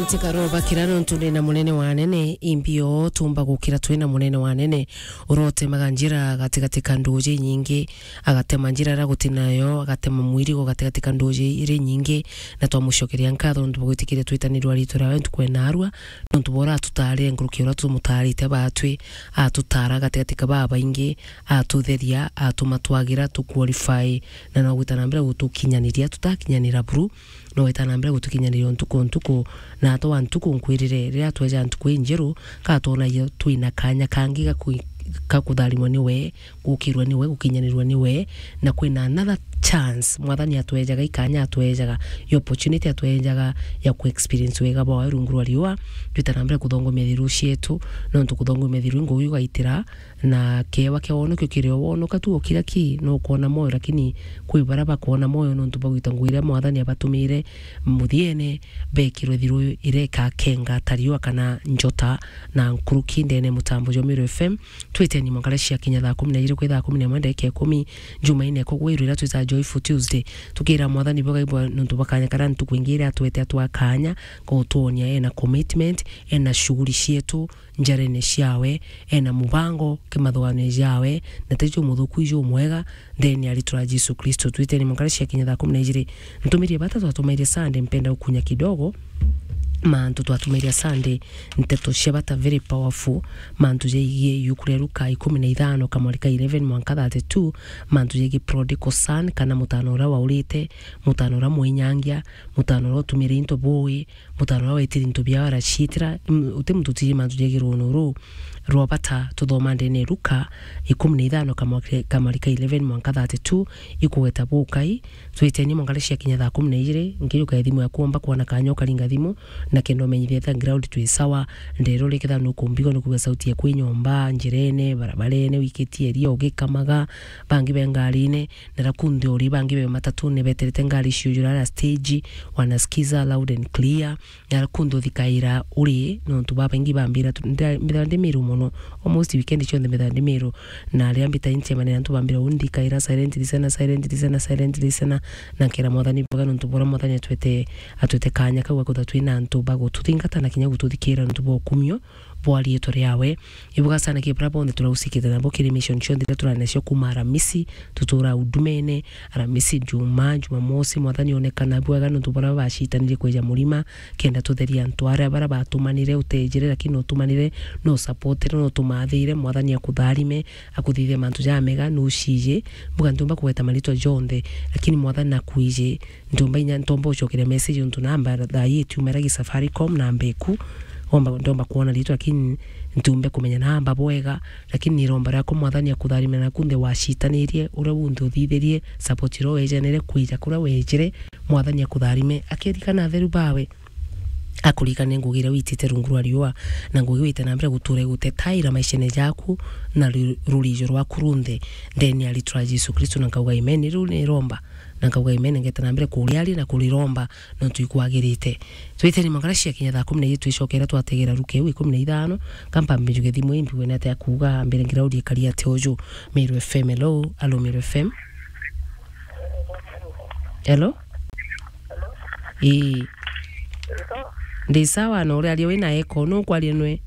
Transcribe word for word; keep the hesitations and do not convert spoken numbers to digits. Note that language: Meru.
Tikaroba kira nontu ndina munene wa anene, imbio tumba gukira twina munene wa anene, urotemaga njira gatigati ka nduji nyingi, agatema njira iria guti nayo, agatema mwirigo gatigati ka nduji iri nyingi, na twamucokeria nkatho nontu bwa gwitikiria twitanirwa riitwa riawe ntuku ena arua, nontu bwa uria atutaarire nkuruki uria tumutaarite batwi, atutaara gatigati ka babaingi, atutheria, atuma twagira, tu qualify, na no gwita na mbere gutukinyaniria, tutakinyanira buru, no gwita na mbere gutukinyaniria ntuku ntuku, na atwa ntuku nkwirire, riria tweja ntuku injeru, ka twonagia twina kanya kangi ga kwi-, ga kutharimwa niwe, gukirwa niwe, gukinyanirwa niwe, na kwina another chance. Mwathani atwejaga ikanya, atwejaga i opportunity, atwejaga ya ku experience wega bwawe rungu rwa riua, twita na mbere kuthongomia thiru cietu, nontu kuthongomia thiru i ngugi ugaitira, na kewa kia wonokio kiri o wonoka tu o kira ki, nukwona moyo, lakini kwi baria bakwona moyo nontu bagwita ngugi iria Mwathani abatumire muthiene, bekirwe thiru iria ikakenga ta riua kana njota na nkuruki ndene mutambo jwa Meru F M. Twiteni mwanka cia kinya thaa kumi na ijiri kwi thaa kumi na imwe ndagika ikumi, Jumaine kugwirwa iria twitaga Joyful Tuesday. Tukira Mwathani bwega ibwa nontu bwa kanya karia ntuku ingi iria atwete atwa kanya, gutwonia ena commitment, ena shughuli cietu, njarene ciawe, ena mubango kimathugano jawe, na ti jumuthuku, i jumwega, ndene ya ritwa ria Jesu Kristo. Twiteni mwanka cia kinya thaa kumi na ijiri. Ntumirie bata twatumairie Sunday, mpenda gukunya kidogo. Mantu twatumairia Sunday, nteto cia bata, very powerful. Mantu jaigie yuku ria Luka ikumi na ithano, kamwari ka eleven mwanka thirty-two, mantu jaigie prodigal son, kana mutano uria waurite, mutano uria mwinyangia, mutano uria utumire into bui, mutano uria wetire into biawe araciitira, mm, uti muntu utiji mantu jaigie ruuno ruu rwa bata tuthoma ndene ya Luka ikumi na ithano kamwari-, kamwari ka eleven mwanka thirty-two, ikugweta bukai, twiteni mwanka cia kinya thaa kumi na ijiri, nkijuka thimu yaku omba kwona kanya ukaringa thimu, na kenda umenyithia etha ground twi sawa, ndero riketha nukumbigo nukuigua sauti yaku i nyomba, njirene, barabarene, wikitie eria ugikamaga, bangi be ngarine, na rakunthi uri bangi be matatune beterete ngari ciujura ara stage, wanasikiza loud and clear, na rakunthi uthikaira uri, nontu babaingi bambira tu-, nda-, mbithaga ndi Meru mono, almost weekend cionthe mbithaga ndi Meru, na riria mbita incemania na antu bambira undikaira silent listener, silent listener, silent listener, na nkera Mwathani bwega nontu bwa uria Mwathani atwete, atwete kanya kau ga kwithirwa twina antu ba gututhingata na kinya gututhikira nontu bwa ukumio bwa riitwa riawe. Ibuga sana ki baria bonthe turausikite nabo kiri mission cionthe iria turari nacio kuuma Aramisi, tutura Hudumene, Aramisi, Juma, Jumamosi, Mwathani onekana bwega nontu bwa uria bacitanirie kwija Murima, kenda tutheria antu aria baria batumanire utejire, lakini utumanire, no supportire, no tumathire, Mwathani akutharime, akuthithie mantu jamega, nucije, mbuga ntiumba kugweta maritwa jonthe, lakini Mwathani nakwije, ntiumba inya, ntomba ucokeria message untu namba thaa ii itiumira gi Safaricom, namba iku, omba, ndomba kwona ritwa, lakini ntiumbe kumenya namba bwega, lakini ni iromba riakwa Mwathani akutharime naku nthe wacitanirie, uria wunthe uthithirie, support iria wejanire, kwija kuria wejire, Mwathani akutharime, akirikana atheru bawe, akurikane ngugi iria witite rungu rwa riua, na ngugi wite na mbere gutura igutetaira maishene jaku na ru-, rurijo rwaku runthe, ndene ya ritwa ria Jesu Kristo, na nkauga amen. Riu ni iromba, na nkauga amen, ngeta na mbere kuria ari na kuriromba, nontu ikwagirite. Twiteni mangara cia kinya thaa kumi na ijiri twicokera twategera Luka iu ikumi na ithano, kampa mbijuge thimu imbiwe na atia kuuga mbere ngiraurie kari atia uju. Meru F M, hello, alo Meru F M. Hello? Ii. Ndi sawa, na uria aria wina eko, nu kwaria nwe?